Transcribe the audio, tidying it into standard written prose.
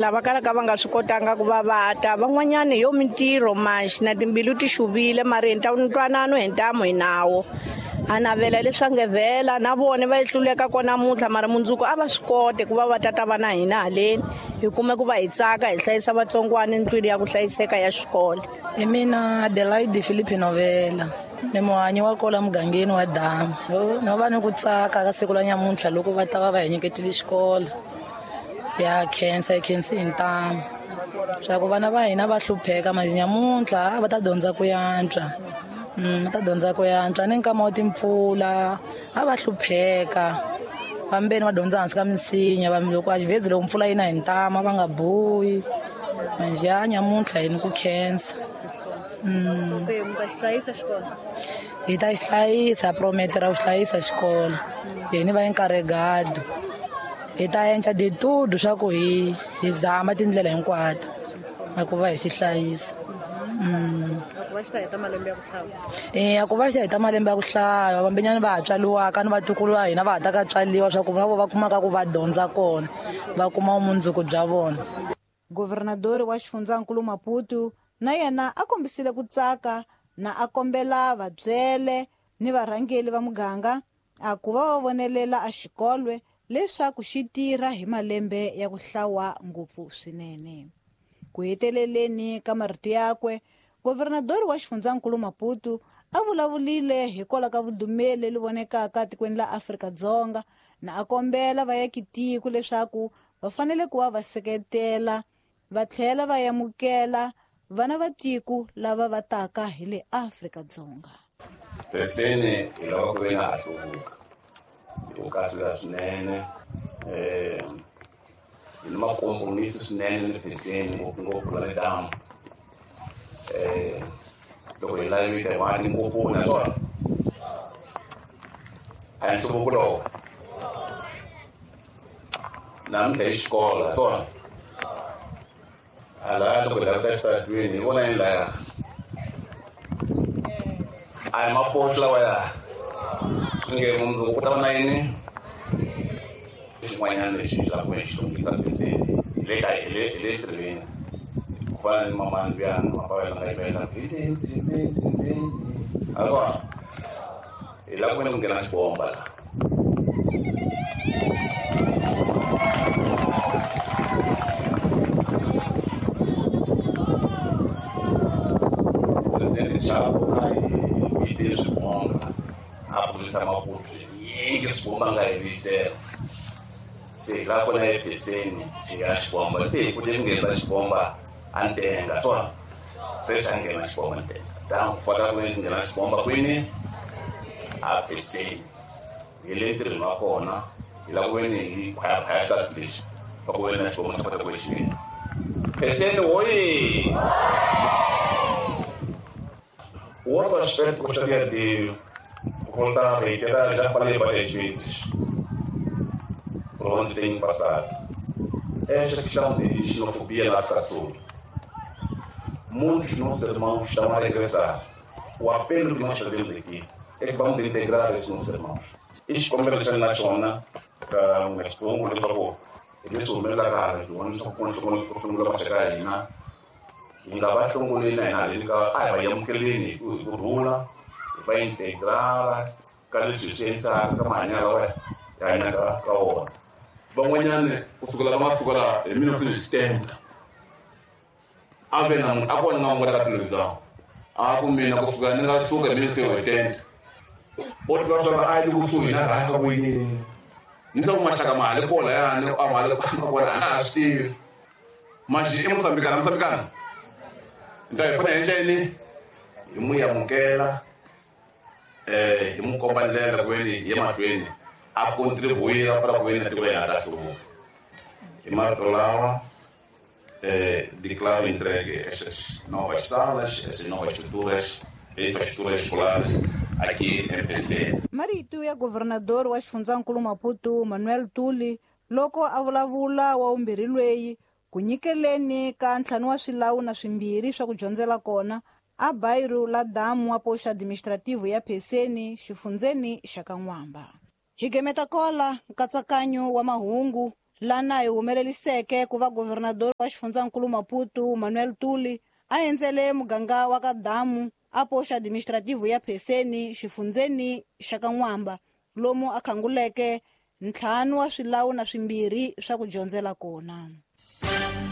Lava kalaka va nga swi kotanga ku va va ta van'wanyana yo mintirho manxi na timbilu ti xuvile mara hi ntwanano hi ntamu hi nawo a navela leswi nge vhela na vona va hluleka kona namuntlha mara mundzuku a va swi kote ku va va tata va na hina haleni hi kume ku va hi tsaka hi hlayisa vatsongwana ndlwini ya ku hlayiseka ya xikolo. Hi mina Adelaide Philippe Novela ni muhanyi wa kola mugangeni wa Damu. No va ni ku tsaka ka siku la nyamuntlha loko va ta va va hi nyiketile xikolo. Ya khensa hi khensi hi ntamu swa ku vana va hina va hlupheka manje nyamuntlha va ta dyondza ku yantswa. Va ta dyondza ku yantswa ni nkama wa timpfula a va hlupheka vambeni va dyondza hansi ka minsinya va loko a xivhezi loko mpfula yi na hi ntama va nga buyi manje ya nyamuntlha hi ni ku khensa. Se mi ta xi hlayisa xikolo? Hi ta xi hlayisa, prometera ku hlayisa xikolo hi ni va encarregado hi ta endla de tudo swa ku hi zama tindlela hinkwato na ku va hi xi hlayisa. A ku va xi ta heta malembe ya ku hlaya. A ku va xi ta heta malembe ya ku hlaya vambenyani va ha tswariwaka ni vatukulu va hina va ha ta ka tswariwa swa ku va vo va kumaka ku va dyondza kona va kuma vumundzuku bya vona. Governadori wa xifundzankulu Maputo na yena a kombisile ku tsaka na a kombela vabyele ni varhangeli va muganga a ku va va vonelela a xikolwe leswaku xi tirha hi malembe ya ku hlawa ngopfu swinene. Ku heteleleni ka marito yakwe, governadori wa xifundzankulu Maputo a vulavulile hikwalaho ka vudumeli leri vonekaka tikweni la Afrika-Dzonga na a kombela vaakitiko leswaku va fanele ku va va seketela va tlhela va amukela vana va tiko lava va taka hi le Afrika-Dzonga. Peseni hi lava ku ve na ha hluvuka hi ku kahlula swinene hi ni makompromisi swinene ni Peseni ngopfungopfu la le damu loko hi lavile va tinkoponi na swona a hi nhluvuko lowo namuntlha hi xikolo swona a laya loko hi lava ta xitaratweni hi vona yini laya a hi mapoxo lawaya nge mundzuku ku ta va na yini xin'wanyana lexi xi lava ku xi hluvukisa Peseni hi le ka hi le hi le tirhweni ku fana ni mamani luyani mapavela nga yimela hi le dzimeni a kona hi lava ku ve ni ku nghena xibomba la. Presidente Chapo a hi vuyisile swibomba a vurisa Maputo nyingi swibomba nga hi vuyisela se hi lava kona ePeseni xi nghena xibomba se hi kute ku nghenisa xibomba a ntenga swona se xa nghena xibomba ntenga tano ku faka ku nghena xibomba kwini a Peseni hi le ntirhweni wa kona hi lava ku ve ni hi khwayakhwaya xitatu lexi va ku ve na xibomba xa kota ku ve xi nghena Peseni woye. O outro aspecto que eu gostaria de voltar a reiterar, já falei várias vezes, por onde tenho passado, é esta questão de xenofobia na África do Sul. Muitos nossos irmãos estão a regressar. O apelo que nós fazemos aqui é que vamos integrar esses nossos irmãos. Xikombelo xa na xona ka nga leswaku hi leswi humelelaka hala leswaku ku hlongula maxaka ya hina hi nga va hlongoleni na hina haleni ka a hi va amukeleni hi ku rhula hi va integrala ka leswi hi swi endlaka ka mahanyelo lawa hi hanyaka ka wona. Van'wanyani kusukela ka masiku lawa hi 1970 a ve na munhu a kona nga n'wi ka television a ku mina kusuka ni nga suka hi 1970 o tiva swa a yi le kusuhi na rhanga ku yini ni swa ku maxaka ma ha le kona yani a ma le kona a ha swi tivi manjhe i Mosambikana Mosambikana nta hi fanele hi endla yini hi n'wi amukela hi n'wi komba ndlela ku veni hi ye mahlweni a contribuir para ku veni na tiko ya hina ta hluvuka. Hi marito lawa declaro entregue estas novas salas, essas novas estruturas, infraestruturas escolares aqui em PC. Marito ya governador wa xifundzankulu Maputo Manuel Tuli loko a vulavula wa vumbirhi lweyi ku nyikeleni ka ntlhanu wa swilawu na swimbirhi swa ku dyondzela kona a bairro la damu wa poxa administrativo ya Peseni xifundzeni xa Kan'wamba. Hi gemeta kola nkatsakanyo wa mahungu Lana hi humeleliseke ku va governador wa xifundzankulu Maputo Manuel Tuli a endzele muganga wa ka Damu a poxa administrativo ya Pheseni xifundzeni xa ka N'wamba lomu a khanguleke 5 wa swilawu na 2 swa ku dyondzela kona.